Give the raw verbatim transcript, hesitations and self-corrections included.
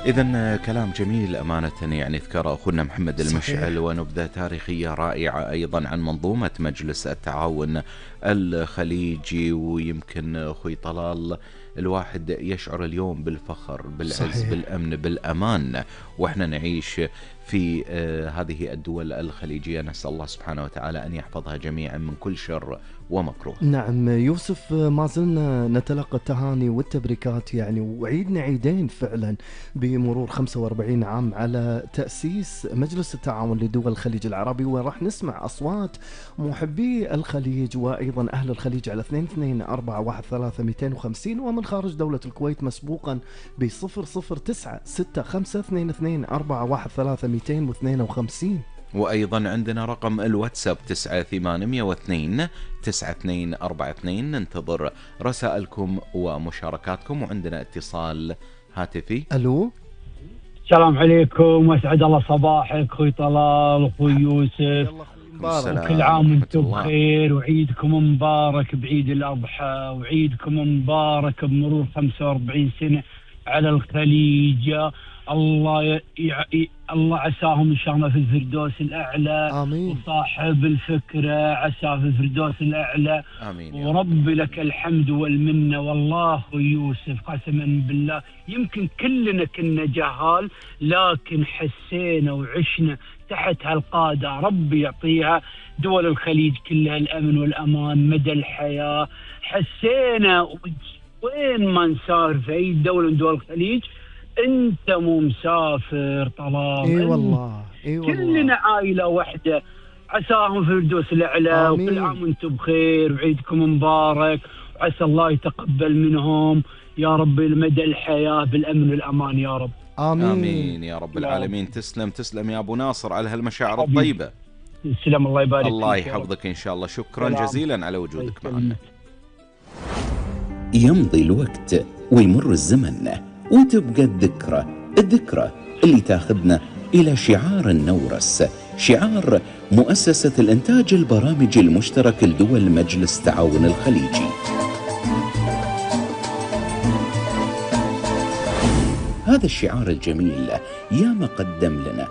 إذا كلام جميل أمانة يعني ذكر أخونا محمد المشعل، صحيح. ونبذة تاريخية رائعة أيضا عن منظومة مجلس التعاون الخليجي. ويمكن أخوي طلال الواحد يشعر اليوم بالفخر، بالعز، صحيح. بالأمن، بالأمان وإحنا نعيش في آه هذه الدول الخليجية. نسأل الله سبحانه وتعالى أن يحفظها جميعا من كل شر ومكروه. نعم يوسف، ما زلنا نتلقى التهاني والتبريكات يعني، وعيدنا عيدين فعلا بمرور خمسة وأربعين عام على تأسيس مجلس التعاون لدول الخليج العربي. وراح نسمع أصوات محبي الخليج وأيضا أهل الخليج على اثنين اثنين أربعة واحد ثلاثة مئتين وخمسين، ومن خارج دولة الكويت مسبوقا ب صفر صفر تسعة ستة خمسة اثنين اثنين أربعة واحد ثلاثة مئتين واثنين وخمسين. وأيضا عندنا رقم الواتساب تسعة ثمانمية واثنين تسعة اثنين أربعة اثنين. ننتظر رسائلكم ومشاركاتكم، وعندنا اتصال هاتفي. ألو، السلام عليكم، واسعد الله صباحك اخوي طلال واخوي يوسف، وكل عام وانتم بخير، وعيدكم مبارك بعيد الاضحى، وعيدكم مبارك بمرور خمسة وأربعين سنة على الخليج. الله ي... ي... الله عساهم ان شاء الله في الفردوس الاعلى. آمين. وصاحب الفكره عساه في الفردوس الاعلى. آمين. ورب لك الحمد والمنه. والله يوسف قسما بالله يمكن كلنا كنا جهال، لكن حسينا وعشنا تحت هالقاده، ربي يعطيها دول الخليج كلها الامن والامان مدى الحياه. حسينا وين ما نسافر في اي دوله من دول الخليج انت مو مسافر طلال. اي والله، اي والله، كلنا عائله واحده. عساهم في الفردوس الاعلى. وكل عام وانتم بخير وعيدكم مبارك، وعسى الله يتقبل منهم يا رب لمدى الحياه بالامن والامان يا رب. آمين. آمين يا رب العالمين. تسلم تسلم يا ابو ناصر على هالمشاعر الطيبه. تسلم، الله يبارك فيك. الله يحفظك ان شاء الله. شكرا جزيلا على وجودك معنا. يمضي الوقت ويمر الزمن وتبقى الذكرى، الذكرى اللي تاخذنا إلى شعار النورس، شعار مؤسسة الإنتاج البرامج المشترك لدول مجلس التعاون الخليجي. هذا الشعار الجميل ياما قدم لنا